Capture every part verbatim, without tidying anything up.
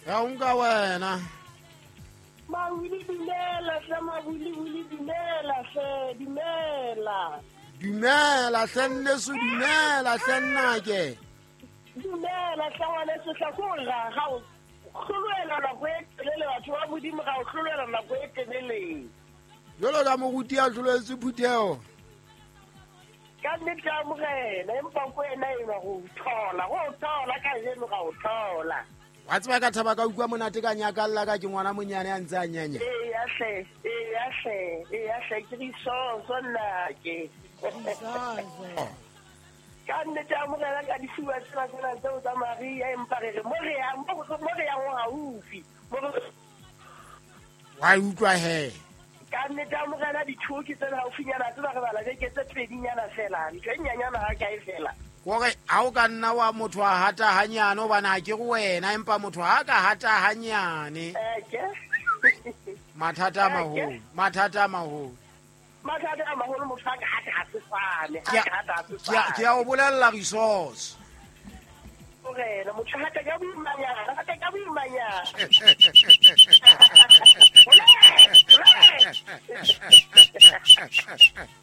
Ya unga wena. Mawili dumela hle mawili wili dumela hle dumela. Dumela hle nneso dumela hle nnake. Dumela hle ngwaneso hle ko ga ga o hlolwela nako e telele batho ba Modimo ga o hlolwela nako e telele. Jalo ka moruti a hlolwetse phutheo. Ka nnete a amogela empa ko ena e ba go thola go thola ka jeno ga o thola. Wa tseba ka thaba ka utlwa monate ka nyakalla ka ke ngwana monyane a ntse a nyanya. Ee ya hle, ee ya hle, ee ya hle ke disoso nna ke. Ka nnete a amogela ka difuba tsena tsena tseo tsa Maria empa re re mo re yang mo re yang haufi. Wa utlwa he. Ka nnete a amogela dithuo ke tsena haufinyana tsena re bala beke tse pedinyana fela ntho e nyanyana ha kae fela. Kore ha o ka nna wa motho a hata hanyane hobane ha ke re wena empa motho ha ka hata hanyane. Mathata a maholo, mathata a maholo. Mathata a maholo motho ha ka hata ha se fane, ha ka hata ha se fane. Ke a o bolella resource. Morena motho hata ka boimanyana, hata ka boimanyana.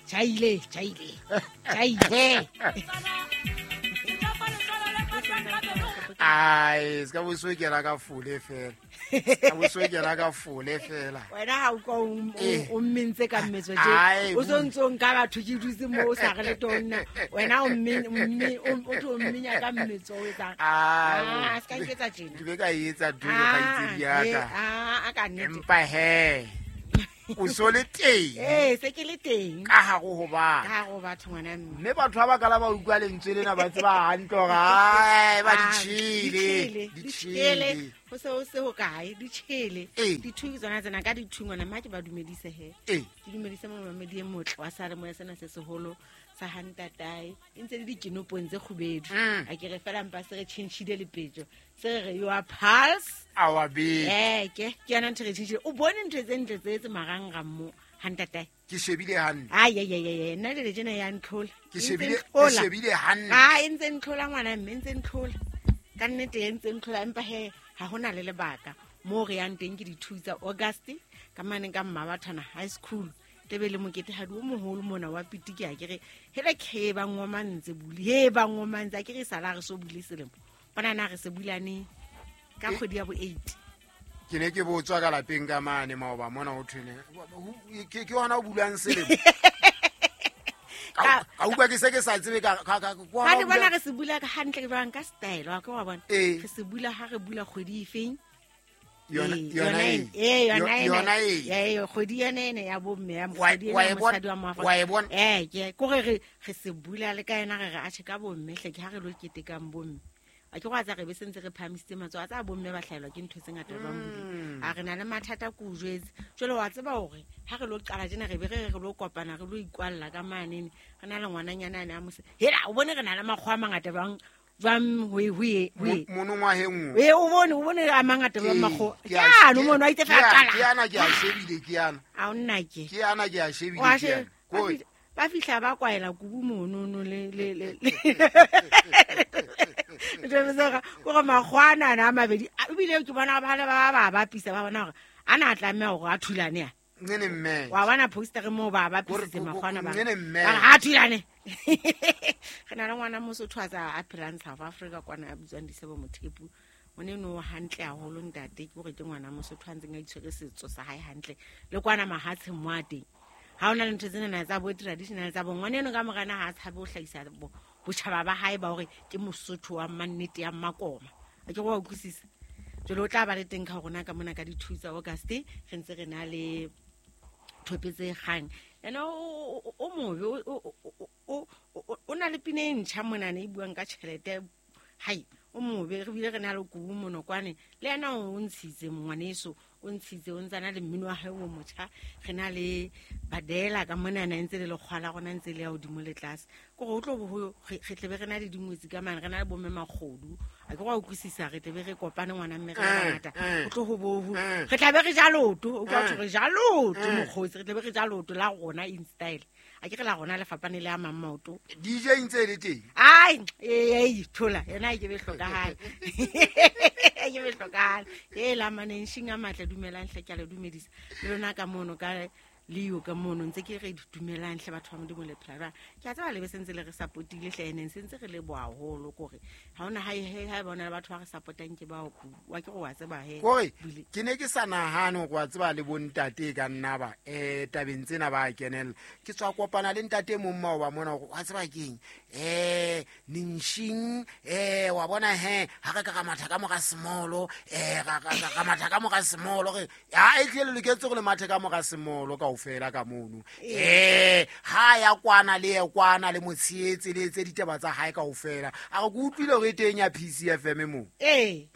Chaile, chaile. Chaile. Ai, ska bo kera ka fole fela. Ska bo kera ka fole fela. Wena ha o kwa o mmentse ka mmetso je. O sontso nka batho ke dutse mo o sa re le tonna. Wena o mme mme o tlo mmenya ka mmetso o etsang. Ah, ska nketsa tjena. Ke be ka etsa dule ka itse ya ka. Ah, a ka nnete. Empa he. O so le teng. Eh, se ke le teng. Ka ha go ho ba. Ka go batho ngwana mme. Mme batho ba ba kala ba utlwa lentswe lena ba tseba hantle hore ai ba ditshile, ditshile. Ho se ho se ho kae ditshile. Dithu tsona tsena ka dithu ngwana mma ke ba dumedise he. Ke dumedise momamedi e motle wa sa re moya sena se seholo sa hantatae. E ntse le dikinopong tse kgubedu. A ke re fela mpa se re tjhentjhile lepetjo. Se re you are pulse our beat. Eh ke ke yona ntho re tjhentjhile. O bone ntho tse ntle tse tse marangrang mo hantatae. Ke shebile hantle. Ai ai ai ai nna le tjena ya ntlhola. Ke shebile ke shebile hantle. Ah e ntse ntlhola ngwana mme ntse ntlhola. Ka nnete e ntse ntlhola empa he ha hona le lebaka. Mo re yang teng ke dithu tsa August ka mane ka Mmabathana High School. Tebe le mokete ha di o moholo mona wa pitiki a ke re hele ke ba ngomantse buli he ba ngomantse a ke re sala re so bule selemo. Bona na re se bulane ka kgwedi ya bo eight. Ke ne ke botswa ka lapeng ka mane maoba mona ho thwele ke ke hona o bulang selemo. Ka ka utlwa ke se ke sa tsebe ka ka ka ka bona re se bula ka hantle jwang ka style wa ke wa bona. Re se bula ha re bula kgwedi efeng? Yona yona e yona yona e e kgwedi yona ene ya bomme ya mokgwedi ya mosadi wa Moafrika. Eh ke ko re re se bula le ka yena re re a tjhe ka bomme hle ke ha re lo ketekang bomme. A ke go atsa re be sentse re phamisitse matsoho a tsa bomme ba hlaelwa ke ntho tse ngata ba mbule. A re na le mathata ko jwetse. Jwale wa tseba hore ha re lo qala tjena re be re re lo kopana re lo ikwalla ka manene. Re na le ngwananyana ane a mose. Hela o bone re na le makgwa a mangata bang jwang ho ho ho monongwaheng. E o bone o bone a mangata ba makgo. Ke no mono a itse fa qala. Ke ana ke a shebile ke ana. A o nna ke. Ke ana ke a shebile ke ana. Ko ba fihla ba kwaela kubu mono no le le le. Tsebetsega go go magwana na mabedi ebile ke bona ba le ba ba ba pisa ba bona hore ana a tlameha hore a thulane ya nene mme wa bona poster mo ba ba pisitse magwana ba nene mme ha thulane re na le ngwana Mosotho a tsa a phelang South Africa kwana a bitswang Disebo Mothepu o ne no hantle haholo ntate ke hore ke ngwana Mosotho a ntseng a itshwere setso sa hae hantle le kwana mahatsheng mo a teng ha ona le ntho tsena na tsa bo traditional tsa bo ngwana eno ka morana ha a tshabe ho hlahisa bo botjhaba ba hae ba hore ke Mosotho wa mannete ya Makoma a ke go wa utlwisisa. Jwale o tla ba le teng ka rona ka mona ka dithu tsa August re ntse re na le thopetse kgang ena o mobe o na le pina e ntjha monana e buang ka tjhelete hai o mobe re bile re na le kubu monokwane le yena o ntshitse ngwaneso o ntshitse o ntsana le mmino wa hae o motjha re na le badela ka monana ntse le lekgwala rona ntse le ya hodimo le tlase ke gore o tlo bo re tlebe re na le dingwetsi ka mane re na le bomme makgodu a ke go utlwisisa re tlebe re kopane ngwana mme re bangata o tlo ho bo re tlabe re ja loto o ka thwe re ja loto mokgotsi re tlebe re ja loto la rona in style a ke re la rona le fapane le a mang maoto D J ntse le teng ai ei thola yena e ke be hlokahale e ke be hlokahale e la manenshing a matle dumelang hle ke a le dumedisa le lona ka mono ka leo ka mono ntse ke re dumelang hle batho ba Modimo le phela jwang ke a tseba le be sentse le re support-ile hle ene sentse re leboha haholo kore ha hona ha ha bona le batho ba re support-ang ke bao wa ke go wa tseba he kore ke ne ke sa nahane hore wa tseba le bontate ka nna ba eh tabeng tsena ba kenella ke tswa kopana le ntate mong mao ba mona hore wa tseba keng eh ninshing eh wa bona he ha re ka ka matha ka mora semolo eh ra ka ka matha ka mora semolo re ha e tle le loketse go le mathe ka mora semolo ka fela ka mono eh ha ya kwana le ye kwana le motshietse le tse ditaba tsa hae kaofela a re ke utlwile hore e teng ya P C F M mo ee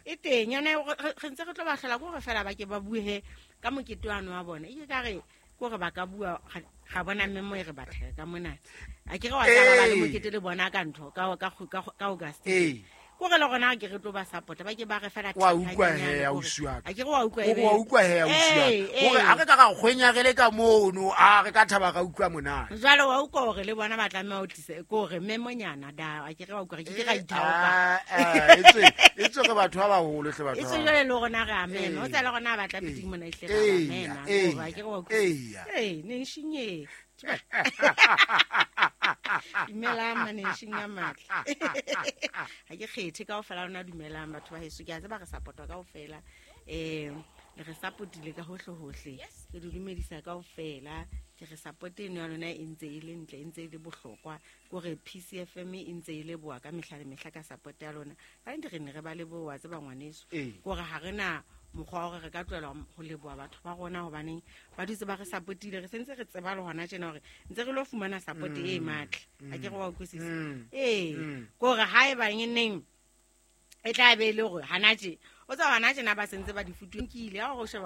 e teng yona re ntse re tlo ba hlola ko re fela ba ke ba buhe ka mokete wa wa bona e ke ka re ko re ba ka bua ga bona mme mo e re batla ka mona a ke re wa tla ba le mokete le bona ka ntho ka ka ka August ee ko re le gona ke re tlo ba support ba ke ba re fela wa utlwa he ya usiwa a ke re wa utlwa e wa utlwa he ya usiwa hore a re ka ga kgwenya re le ka mono a re ka thaba ga utlwa mona jwale wa utlwa hore le bona ba tlameha ho tlisa ko re memonyana da a ke re wa utlwa ke ke ra ithaopa e tswe e tswe re batho ba baholo hle batho e tswe jwale le rona re a mema o tsela rona ba tla piting mona ihle ra ba mema a ke re wa utlwa ee ne shinye dumelang maneshing a matle ha ke kgethe kaofela lona dumelang batho ba heso ke a tseba re support-wa kaofela um le re support-ile ka hohle hohle ke di dumedisa kaofela ke re support eno ya lona e ntse e le ntle e ntse e le bohlokwa kore P C F M e ntse e leboha ka mehla le mehla ka support ya lona ka nnete re ne re ba leboha tseba ngwaneso kore ha re na mokgwa wa hore re ka tlohela ho leboha batho ba rona hobaneng ba dutse ba re support-ile re sentse re tseba le hona tjena hore ntse re lo fumana support e matla a ke re wa utlwisisa ee kore ha e bang neng e tla be e le hore hana tje o tswa hana tjena ba sentse ba di futunkile ha o sheba